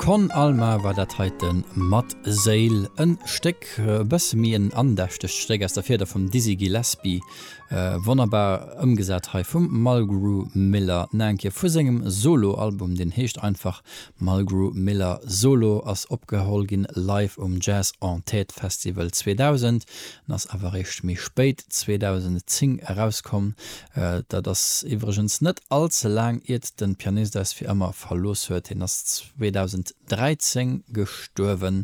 Con Alma war dat heite mat Séil. En Stéck, e bësse méi en andächtegt Stéck aus der Fieder vum Dizzy Gillespie. Wonnerbar ëmgesat hei vum Mulgrew Miller. Nach eng Kéier vu sengem Solo-Album, deen heescht einfach Mulgrew Miller Solo, ass opgeholl ginn live um Jazz en Tête Festival 2000 en ass awer eréischt méi spéit, 2010, erauskomm. Dat ass iwwregens net all ze laang iert de Pianist eis fir ëmmer verlooss huet. Hien ass 2013 gestuerwen.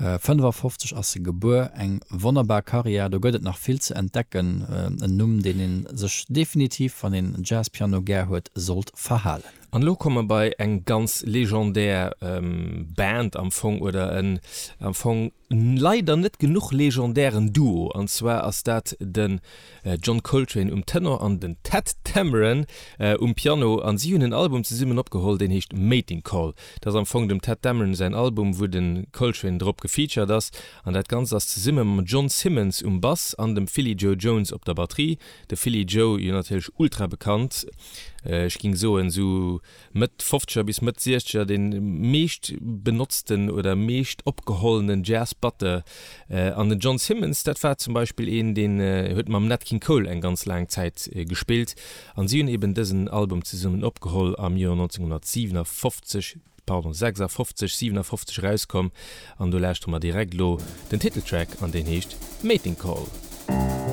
55 ass e gebuer. Eng wonnerbar Karriär, do gëtt et nach vill ze entdecken. En Numm, deen ee sech definitiv, wann een Jazzpiano gär huet, sollt verhalen. An elo komme mer bei eng ganz legendär Band am Fong, oder en am Fong leider net genuch legendären Duo, an zwar ass dat den John Coltrane um Tenor an den Tadd Dameron um Piano, an si hunn en Album zesummen opgeholl, deen heescht Mating Call. Dat ass am Fong dem Tadd Dameron säin Album, wou de Coltrane drop gefeatured ass, an dat Ganzt ass zesumme mam John Simmons um Bass an dem Philly Joe Jones op der Batterie. De Philly Joe jo natierlech ultra bekannt, ech ging soen sou Mëtt Fofzeger bis Mëtt Siechzeger dee meescht benotzten oder meescht opgehollenen Jazz-Batteur. An den John Simmons, dat war zum Beispill een, deen huet mam Nat King Cole eng ganz laang Zäit gespillt. An si hunn eben dësen Album zesummen opgeholl am Joer 1957, pardon, 56, 57 erauskomm. An do lauschtere mer direkt elo den Titeltrack an deen heescht Mating Call.